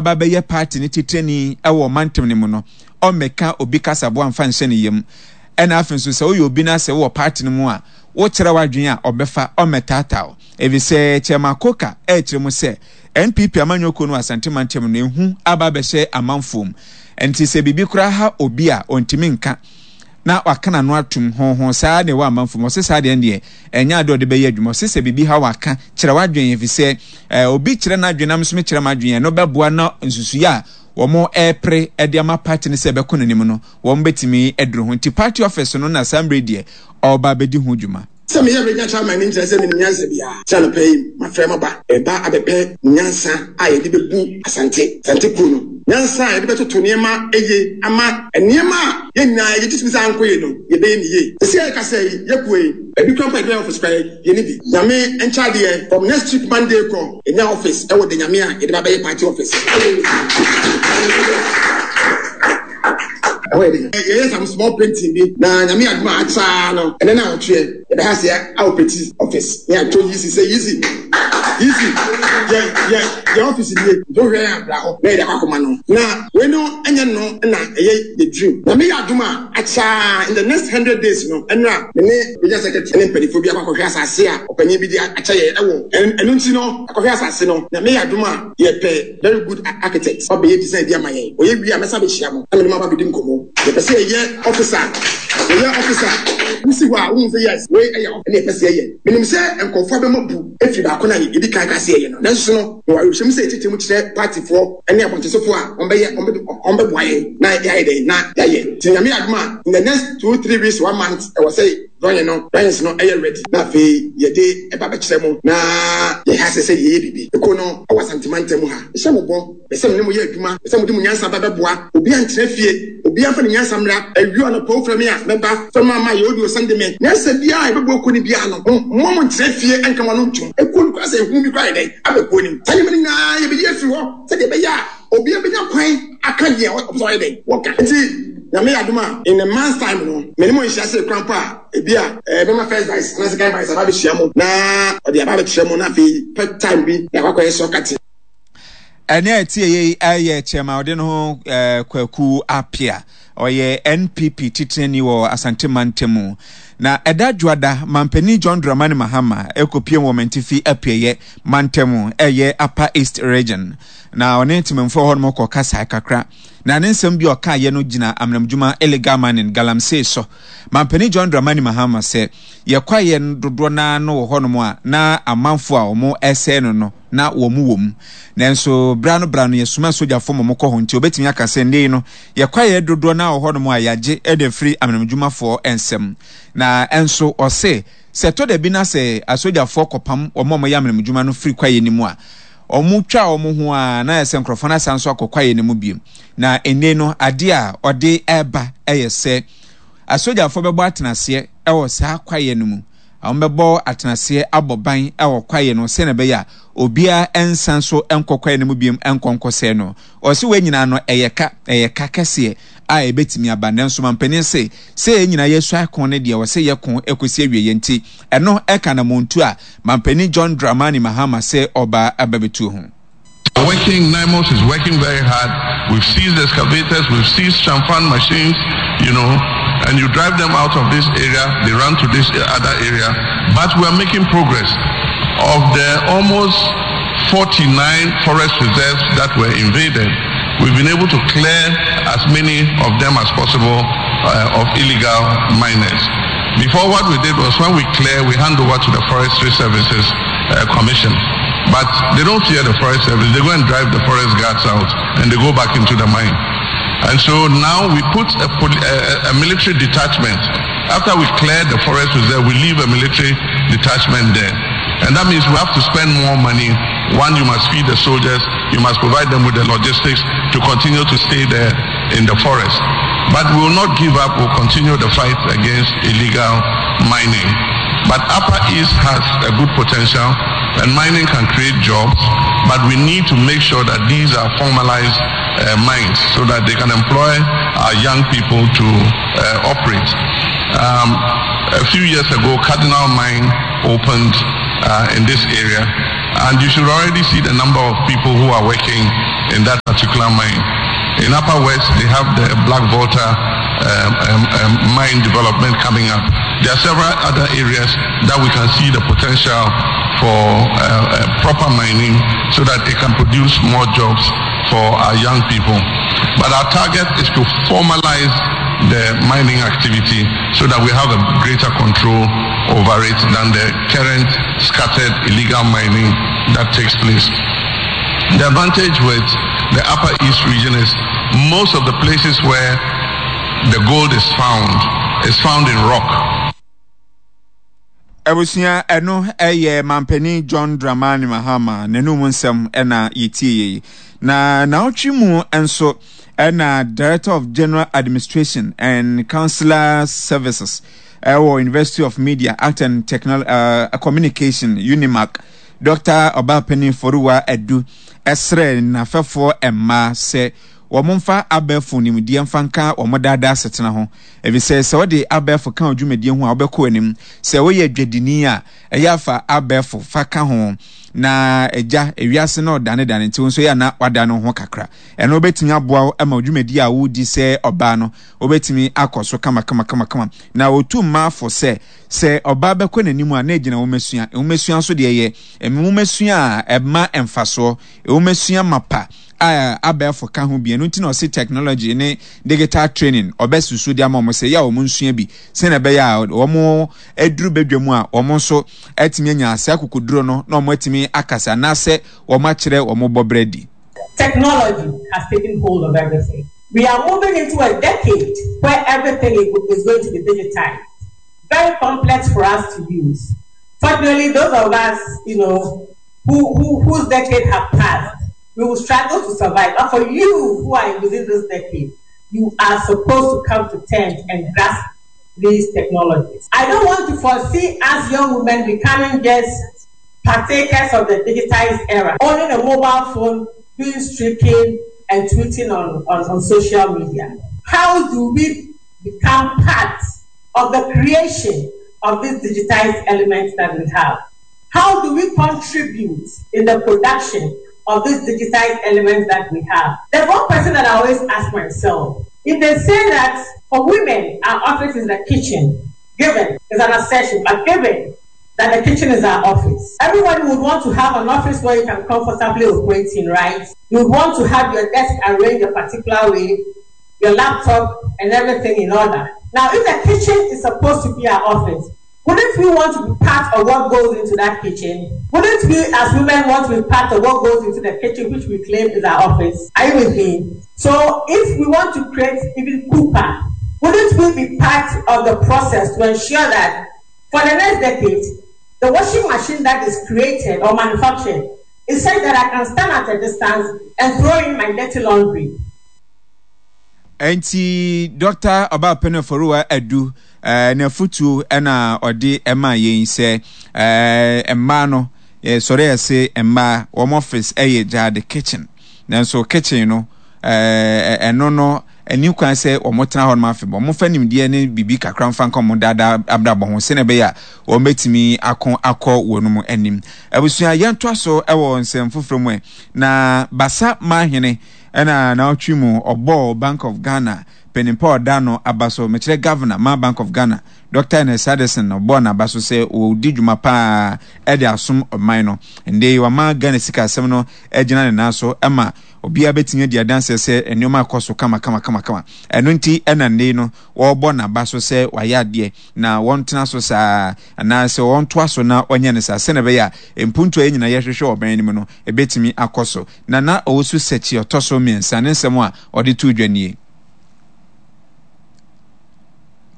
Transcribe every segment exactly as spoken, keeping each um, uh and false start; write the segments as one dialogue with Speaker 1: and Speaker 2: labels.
Speaker 1: waba bɛyɛ party ne titrani ɛwɔ mantam no mu no, ɔmmɛka obi kasaboa mfa nhyɛ ne yam. Ɛna afei nso, sɛ woyɛ obi no sɛ wowɔ party no mu a, wokyerɛ w'adwene a, ɔbɛfa ɔmmɛtaataa, ɛfiri Chairman Koka ɛrekyerɛ mu sɛ N P P amanyɔkuo no Asante mantam no ehu aba abɛhyɛ amanfoɔ mu. Nti sɛ biribi koraa ha obi a, ɔntumi nka na waka n'ano atum honhon saa na ɛwɔ amanfoɔ mu. Ɔsɛ saa deɛ deɛ ɛnyɛ ade ɔde bɛyɛ adwuma. Ɔsɛ sɛ biribi ha, waka kyerɛ w'adwene, ɛfiri sɛ ɛɛ obi kyerɛ n'adwene nam nso kyerɛ m'adwene, ɛno bɛboa na nsusuiɛ a wɔn ɛrepere ɛde ama party no sɛ ɛbɛkɔ n'anim no, wɔn bɛtumi aduru ho. Nti party office no na saa mmerɛ deɛ ɔreba abɛdi ho dwuma.
Speaker 2: Sɛ meyɛ regional chairman ne nkyerɛ sɛ menim nyansa biara. Sɛ anɔpɛ yi mafrɛ maba ɛba abɛpɛ nyansa a yɛde bɛbu Asante Asante kuro no, nyansa a yɛde bɛtoto nneɛma eye ama nneɛma a yɛn nyinaa yɛgye tumi sɛ ankɔ yie no, yɛbɛyɛ ne yie. Sɛ yɛka sɛ yɛkuo yi ebi kura mpa yɛde office kora yɛne bi. Nyame nkyɛadeɛ, from next week Monday kɔ, yɛnya office ɛwɔ de Nyame a yɛde ba bɛyɛ party office ɛhɔ. Yɛ de yɛyɛ some small painting bi na Nyame adum a akyaa no, ɛnɛ na awɔtweɛ yɛbɛha sɛ awopɛti office ne ato yisi sɛ yisi yisi yɛ yɛ yɛ office nie. Nti wohwɛ yɛn abra hɔ na yɛde akɔ akɔma no na wei no ɛnyɛ no na ɛyɛ yɛ dream. Nyame yɛ adum a akyaa, in the next hundred days no, ɛnura me ne regional secretary ne mpanimfoɔ bi akɔ akɔhwɛ asase a ɔpanyin bi de akyɛ yɛ ɛwɔ ɛno. Nti no akɔhwɛ asase no, Nyame yɛ adum a, yɛpɛ very good architect, ɔbɛyɛ design bi ama yɛn. Ɔyɛ wie a, mɛsa bɛhyia mo na mene mo aba bɛdi nkɔmmɔ. Yɛpɛ sɛ yɛyɛ office, yɛyɛ office wosi hɔ a, wohu sɛ yes, wei ɛyɛ ɛne yɛpɛ sɛ yɛyɛ. Menim sɛ nkɔfoɔ bɛma bu efiri baako na yɛdi kan ka sɛ yɛyɛ no, nanso no mewɔ awerɛhyɛmu sɛ yɛkyerɛkyerɛ mu kyerɛ partyfoɔ ne abɔntesofoɔ a wɔbɛyɛ, wɔbɛboa yɛn na yɛayɛ dɛn na yɛayɛ. Nti Nyame adom a, in the next two three weeks, one month, ɛwɔ sɛ drawing no drawings no ɛyɛ ready na afei yɛde ɛba bɛkyerɛ mu na yɛha sɛ sɛ yɛyɛ biribi. Eko no ɛwɔ Asantemantam mu ha, ɛhyɛ mo bɔ ɛsɛ mo ne mo yɛ adwuma, ɛsɛ mo de mo nyansa ba bɛboa. Obi antena fie, obi afa ne nyansa mmra. Awio anɔpa wofrɛ me a, mɛba fɛm ama yɛ audio send me. Nyansa biara a yɛbɛboa kuo no biara no, mo mo ntena fie ɛnka mo ano ntom. Ekuo no kora sɛ ehu bi kora yɛ dɛn aba kuo nim. Saa nneɛma no nyinaa yɛbɛyi afiri hɔ sɛdeɛ ɛbɛyɛ a obiara bɛnya kwan aka deɛ ɔpɛ sɛ ɔyɛ dɛn wɔka. Nti Nyame yɛ adom a, in a month's time no, me ne mo nhyia sɛ kura mpo a, ebi a ɛɛ bɛma first vice anaa second vice aba abɛhyia mo na ɔde aba abɛkyerɛ mo na afei pɛ time bi na akɔ akɔyɛ sɔkate.
Speaker 1: Ɛne a ɛtie yei ɛyɛ chairman ɔde no ho ɛɛ Kwaku Apia, ɔyɛ N P P titenani wɔ Asante mantam mu. Na ɛda dwoada, mampanin John Dramani Mahama ɛkɔpie wɔ Mantifi Apueɛ mantam, ɛyɛ Upper East Region, na ɔne ntemamfoɔ hɔ nom kɔ kasa kakra. Na ne nsɛm bi a ɔkaeɛ no gyina amanamdwuma, illegal mining, galamsey so. Mampanin John Dramani Mahama sɛ yɛkwaeɛ dodoɔ naa no wɔ hɔnom a na amanfoɔ a wɔn ɛsɛe no no na wɔn wɔ mu, nanso bra no bra no yɛsoma sogyafoɔ ma wɔkɔ hɔ. Nti obetumi aka sɛ nne no yɛkwaeɛ dodoɔ naa wɔ hɔnom a yɛagye ɛde afiri amanamdwumafoɔ nsɛm. Na ɛnso ɔse sɛ ɛtɔ da bi na sɛ asogyafoɔ kɔpam wɔn a wɔyɛ amanamdwuma no firi kwaeɛ no mu a, wɔn twa wɔn ho a, na yɛ sɛ nkurɔfoɔ no asan so akɔ kwaeɛ no mu bio. Na nne no adeɛ a ɔde ɛreba ɛyɛ sɛ asogyafoɔ bɛbɔ atenaseɛ ɛwɔ saa kwaeɛ no mu, wɔn bɛbɔ atenaseɛ abɔ ban ɛwɔ kwaeɛ no sɛnea ɛbɛyɛ a obiara nsan so nkɔ kwaeɛ no mu biom nkɔ nkɔsɛɛ no. Ɔsi wɔn nyinaa no ɛyɛ ka ɛyɛ ka kɛseɛ a ɛbɛtumi aba, nanso mampanin se sɛ yɛn nyinaa yɛsua ko no deɛ, wɔsɛ yɛ ko ɛkɔsi awie yɛn. Nti ɛno ɛka na montu a mampanin John Dramani Mahama sɛ ɔbaa aba bɛtuo ho.
Speaker 3: Working, NAIMOS is working very hard. We've seized excavators, we've seized chamfan machines, you know, and you drive them out of this area, they run to this other area. But we are making progress. Of the almost forty-nine forest reserves that were invaded, we've been able to clear as many of them as possible uh, of illegal miners. Before, what we did was when we clear, we hand over to the Forestry Services uh, Commission. But they don't fear the Forest Service. They go and drive the forest guards out and they go back into the mine. And so now we put a, a, a military detachment. After we clear the forest reserve, we leave a military detachment there. And that means we have to spend more money. One, you must feed the soldiers. You must provide them with the logistics to continue to stay there in the forest. But we will not give up. We'll continue the fight against illegal mining. But Upper East has a good potential and mining can create jobs, but we need to make sure that these are formalized uh, mines so that they can employ our young people to uh, operate. Um, a few years ago, Cardinal Mine opened uh, in this area, And you should already see the number of people who are working in that particular mine. In Upper West, they have the Black Volta um, um, um, mine development coming up. There are several other areas that we can see the potential for uh, uh, proper mining so that it can produce more jobs for our young people. But our target is to formalize the mining activity so that we have a greater control over it than the current scattered illegal mining that takes place. The advantage with the Upper East region is most of the places where the gold is found is found in rock.
Speaker 1: Abusua, ɛno ɛyɛ Mampanin John Dramani Mahama n'anum nsɛm ɛna yɛtie yi. Na naawɔtwe mu nso ɛna Director of General Administration and Consular Services ɛwɔ University of Media, Art and Technology, uh, Communication, UNIMAC, Doctor Ɔbaapanin Foruwa Adu ɛsrɛ n'afɛfoɔ mmaa sɛ wɔn mfa abɛɛfo nimdeɛ mfa nka wɔn daadaa asetena ho, efisɛ sɛ wɔde abɛɛfo ka dwumadie ho a, wɔbɛkɔ anim. Sɛ woyɛ dwadini a, ɛyɛ afa abɛɛfo fa ka ho na agya ewiase na ɔdanedane, nti nso yɛ ana wada no ho kakra. Ɛno wobɛtumi aboa wo ma dwumadi a wodi sɛ ɔbaa no wobɛtumi akɔ so kama kama kama kama. Na otu mmaa fo sɛ sɛ ɔbaa bɛkɔ n'anim a, na egyina nwomasua. Nwomasua nso deɛ, yɛ nwomasua a ɛma mfasoɔ, nwomasua mapa a abɛɛfo ka ho bi. Ɛno nti na ɔse technology ne digital training ɔbɛsusu de ama wɔn sɛ yɛ a wɔn nsua bi, sɛnea ɛbɛyɛ a wɔn aduru badwa mu a, wɔn nso atumi anya ase akokoduro no na wɔn atumi akasa anaasɛ wɔn akyerɛ wɔn bɔbrɛ di.
Speaker 4: Technology has taken hold of everything. We are moving into a decade where everything is going to be digitized. Very complex for us to use. Fortunately, those of us, you know, who, who, whose decade have passed, we will struggle to survive. But for you who are within this decade, you are supposed to come to terms and grasp these technologies. I don't want to foresee us young women becoming just partakers of the digitized era, owning a mobile phone, doing streaking and tweeting on, on, on social media. How do we become part of the creation of these digitized elements that we have? How do we contribute in the production of these digitized elements that we have? There's one question that I always ask myself. If they say that for women, our office is the kitchen, given, is an assertion, but given that the kitchen is our office, everybody would want to have an office where you can comfortably operate in, right? You would want to have your desk arranged a particular way, your laptop and everything in order. Now, if the kitchen is supposed to be our office, wouldn't we want to be part of what goes into that kitchen? Wouldn't we as women want to be part of what goes into the kitchen, which we claim is our office? Are you with me? So if we want to create even Cooper, wouldn't we be part of the process to ensure that for the next decade, the washing machine that is created or manufactured is such that I can stand at a distance and throw in my dirty laundry?
Speaker 1: Nti Doctor Ɔbaapɛn Foruwa Adu ɛɛ n'afutuo ɛna ɔde ɛma yɛn sɛ ɛɛ mmaa no yɛsɔre yɛse mmaa wɔn office ɛyɛ gyaade, kitchen. Nanso kitchen no, ɛɛ ɛno no ɛni kwan sɛ wɔn tena hɔ nom afei wɔn fa nimdeɛ ne biribi kakra mfa nka wɔn daadaa abrabɔ ho, sɛnea ɛbɛyɛ a wɔn bɛtumi ako akɔ wɔn mu anim. Abusua, yɛntoa so ɛwɔ nsɛm foforɔ mu ɛ. Na Basa Mahene ɛna n'atwi mu ɔbɔɔ Bank of Ghana panimpa ɔda no aba so, mekyerɛ Governor ma Bank of Ghana, Doctor Ernest Addison, ɔbɔɔ n'aba so sɛ ɔdi dwuma paa ɛde asom ɔman no. Nde wama Ghana sikasɛm no agyina ne nan so ɛma obiara bɛtumi adi adanseɛ sɛ nneɛma akɔ so kama kama kama kama. Ɛno nti ɛna nne no wɔrebɔ n'aba so sɛ wayɛ adeɛ na wɔntena so saa anaasɛ wɔntoa so na ɔnyɛ no saa, sɛnɛ ɛbɛyɛ a mpuntu a yɛn nyinaa yɛhwehwɛ ɔban no mu no ɛbɛtumi akɔ so. Na na ɔwɔ so sɛkyi ɔtɔ so mmiɛnsa ne nsɛm a ɔde to dwa nie.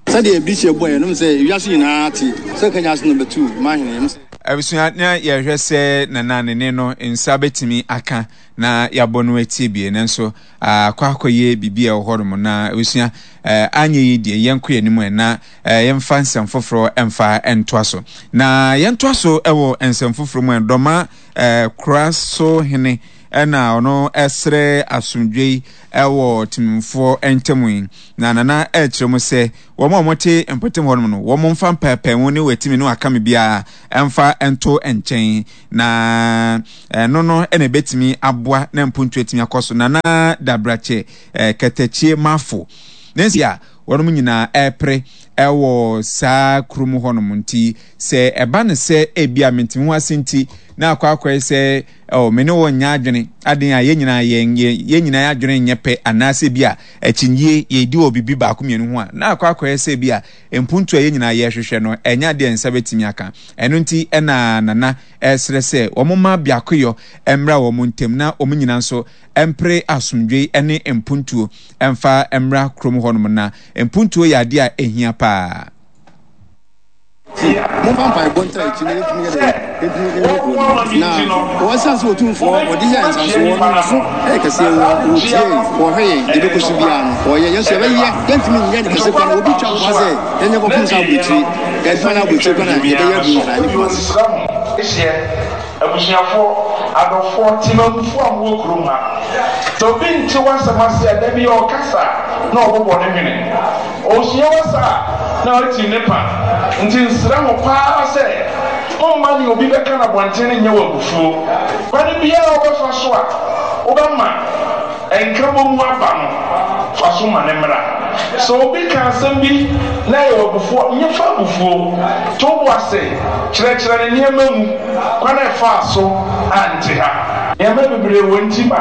Speaker 2: Sɛdeɛ bi hyɛ bɔ yɛn nom sɛ wiase nyinaa te sɛ kanya ase number two mahene.
Speaker 1: Abusua, na yɛhwɛ sɛ nana ne ne no nsa bɛtumi aka na yɛabɔ no atie bie, nanso akɔ akɔyɛ biribi a ɛwɔ hɔnom. Na abusua, anyɛ yi deɛ, yɛnkɔ yɛn anim ɛ na yɛmfa nsɛm foforɔ mfa ntoa so. Na yɛntoa so wɔ nsɛm foforɔ mu ɛ, Dɔma kora so hene Ɛna ɔno ɛsrɛ asomdwei ɛwɔ temmufoɔ ntam yi. Na Nana ɛkyerɛ mu sɛ wɔn a wɔte mpɔtam hɔnom no, wɔn mfa mpaepaemu ne wɔatumi ne wɔaka me biara ɛmfa nto nkyɛn, na ɛno no ɛna ɛbɛtumi aboa na mpuntu atumi akɔ so. Nana Dabrakyɛ ɛɛ Katakyie Mafo ne nsi a wɔn nyinaa ɛrepere ɛwɔ saa kurom hɔnom, nti sɛ ɛba no sɛ ebi a mentumi ho ase nti na akɔ akɔyɛ sɛ ɔ me ne wɔn nyɛ adwene aden a, yɛn nyinaa yɛn yɛn nyinaa adwene nyɛ pɛ, anaasɛ bi a akyinnyie yɛdi wɔ biribi baako mmienu ho a, na akɔ akɔyɛ sɛ bi a mpuntu a yɛn nyinaa yɛrehwehwɛ no ɛnyɛ adeɛ nsa bɛtumi aka. Ɛno nti ɛna Nana ɛsrɛ sɛ wɔn mma biakoyɔ mmra wɔn ntam na wɔn nyinaa nso mpere asomdwe ne mpuntuo mfa mmra kurom hɔnom, na mpuntuo yɛ adeɛ a ɛhia paa.
Speaker 2: Momfa mpaebɔ ntra akyi na yɛntumi yɛ dɛ yɛntumi yɛ kuro no, na wɔsiane sɛ Otumfoɔ wɔde yɛ nsansoɔ no naso ɛyɛ kɛseɛ. Wɔ wɔtie, wɔhwɛ yɛn deɛ bɛkɔ so biara no wɔyɛ yɛn so yɛbɛyɛ. Yɛntumi nyɛ ne kɛse kora no, obi twa mpoa sɛ yɛnyɛ kɔpem sɛ aburokyiri yɛadwuma no aburokyiri kora na yɛbɛyɛ aduru Nkran ne Kumase.
Speaker 5: Hyeɛ, abusuafoɔ, adɔfoɔ, temamufoɔ a mowɔ kurom ha. Sɛ obi nte w'asɛm ase a, da bi ɔrekasa a, na ɔbobɔ ne hwene. Ɔresua w'asa a, na ɔretim ne pa. Nti nsrɛ mo paa sɛ, momma nea obi bɛka no abɔnten no nyɛ wo abufuo. Kwan biara a wobɛfa so a wobɛma nkabom aba no, fa so ma no mmra. Sɛ obi ka asɛm bi na ɛyɛ wo abufuo a, nyɛ fa abufuo. To wo bo ase kyerɛkyerɛ no nneɛma mu, kwan a ɛfaa so ante ha. Nneɛma bebree wɔ nti ma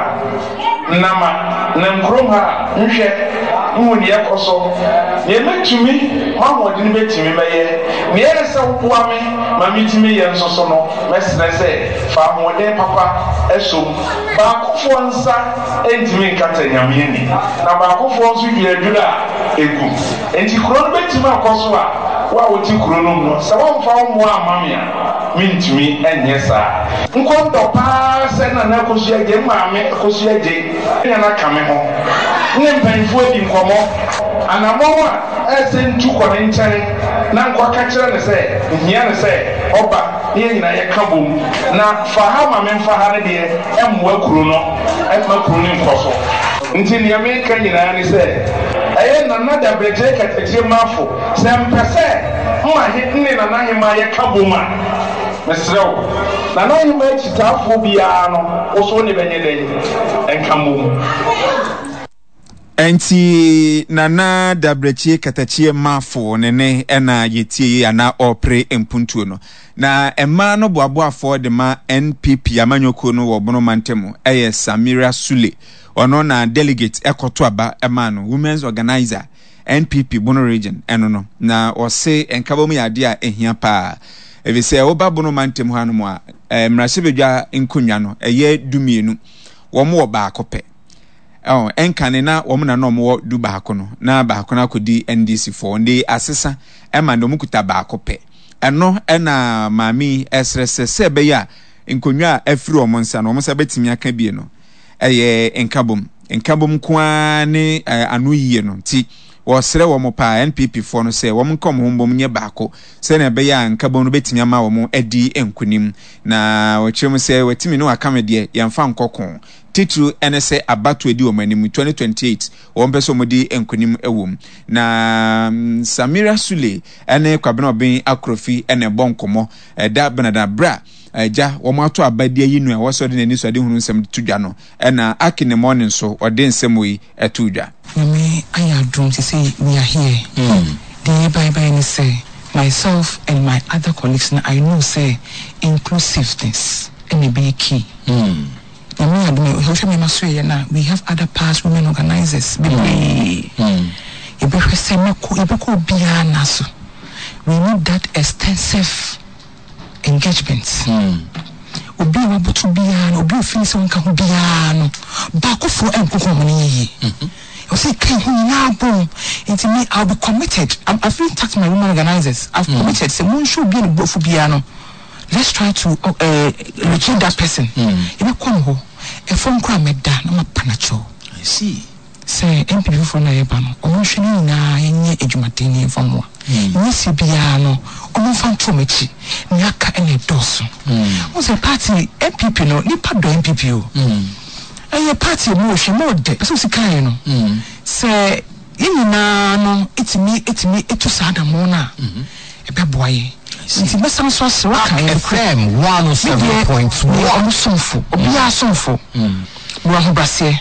Speaker 5: nnama nam kurom ha a nhwɛ nhu nea ɛkɔ so. Nea mɛtumi, m'ahoɔden bɛtumi mɛyɛ. Nea ɛyɛ sɛ woboa me ma metumi yɛ nso so no, mɛsrɛ sɛ fa ahoɔden papa sɔ mu. Baakofoɔ nsa ntumi nkata Nyame ani, na baakofoɔ nso dua adwira a ɛgu. Enti kuro no bɛtumi akɔ so a, wo a wote kuro no mu no, sɛ woamfa wo mmoa amma me a, mentumi nyɛ saa. Nkɔntɔ paa sɛ Nana Akosua Adjei, Maame Akosua Adjei ne Nana ka me ho ne mpanyimfoɔ adi nkɔmmɔ. Anammɔn a ɛyɛ sɛ ntu kɔ ne nkyɛn na nkɔka kyerɛ no sɛ nhia no sɛ ɔba na yɛn nyinaa yɛka bom na fa ha ma memfa ha no deɛ, ɛmmoa kuro no, ɛmma kuro no nkɔ so. Nti nea meka nyinaa ne sɛ, ɛyɛ Nana Dabrɛkyerɛ Katakyie Mafo, sɛ mpɛ sɛ mma he ne Nana Hemaa yɛka bom a, mesrɛ wo, Nana Hemaa akyitaafoɔ biara no, wo so wo ne bɛnyɛ dɛn nka mmom.
Speaker 1: Ɛnti Nana Dabrɛkyie Katakyie Mafo ne ne ɛna yɛtie yi anaa ɔrepere mpuntuo no. Na mmaa no boaboafoɔ de ma N P P amanyɔkuo no wɔ Bono mantam ɛyɛ Samira Sule. Ɔno na delegate ɛkɔto aba ɛmaa no women's organizer N P P Bono Region ɛno no. Na ɔse nkabom yɛ adeɛ a ɛhia paa, ɛfiri sɛ woba Bono mantam hɔ anom a, mmarahyɛbadwa nkonnwa no ɛyɛ dumienu, wɔn wɔ baako pɛ. Ɛwɔ ɛnkane na wɔn na na wɔn wɔ du baako no, na baako no akɔdi N D C foɔ de asesa ɛma na wɔn kuta baako pɛ. Ɛno ɛna maame yi ɛsrɛ sɛ sɛ ɛbɛyɛ a nkonnwa a afiri wɔn nsa no, wɔn nsa bɛtumi aka bie no, ɛyɛ nkabom. Nkabom nko ara ne ano yie no. Nti wɔsrɛ wɔn paa, N P P foɔ no, sɛ wɔn nka wɔn ho mbom nyɛ baako sɛnea ɛbɛyɛ a nkabom no bɛtumi ama wɔn adi nkonim. Na wɔkyerɛ mu sɛ wɔatumi ne waka me deɛ yɛmfa nkɔko titiri ɛne sɛ abato adi wɔn anim twenty twenty-eight, wɔn pɛ sɛ wɔn di nkonim wɔ mu. Na Samira Sule ɛne Kwabena Ɔben Akorofi ɛna ɛbɔ nkɔmɔ ɛda benada bra agya wɔn ato aba di ayi nu a wɔsɔ de n'ani so ade hunu nsɛm to dwa no, ɛna Aki ne mɔne nso ɔde nsɛm yi ɛto dwa.
Speaker 6: Nyame ayɛ adom te sɛ we are here. Deɛ yɛbaebae ne sɛ myself and my other colleagues na I know sɛ inclusiveness ɛna ɛbɛyɛ key. Nyame ayɛ adom a wohwɛ me ma so yɛ na we have other past women organizers bebree. Yɛbɛhwɛ sɛ mɛkɔ, yɛbɛkɔ obiara na so we need that extensive engagement. Obi a waboto biara no, obi a ofin sɛ ɔnka ho biara no, baakofoɔ ɛnkoko wɔn no yie. Ɔsɛ ka ho nyinaa bom. Nti me, I'll be committed. I'm, I've even tasked my women organizers. I've mm. committed sɛ monhwɛ obi a ne buafu biara no, let's try to uh, locate that person. Yɛbɛkɔ no hɔ ɛfɔm koraa, mɛda na mapa n'akyɛw.
Speaker 7: I see.
Speaker 6: Sɛ N P P foforɔ no a yɛba no, ɔmo nhwɛ no nyinaa, yɛnyɛ adwumaden ne yɛmfa mmoa nyɛ sɛ biara no, ɔmo mfa nto ɔmo akyi. Nea aka ɛna ɛdɔɔso. Mo sɛ party N P P no, nipa dɔ N P P o. Ɛyɛ party mu ohwɛ mu ɔdɛ pɛsɛ osi kan yɛ no sɛ yɛn nyinaa no etumi etumi etu saa adamoɔ no a ɛbɛboa yɛ. Nti mɛsan so asrɛ waka yɛ
Speaker 7: F M one oh seven point
Speaker 6: one. Ɔmo somfo, obiara somfo, mewɔ ahobraseɛ.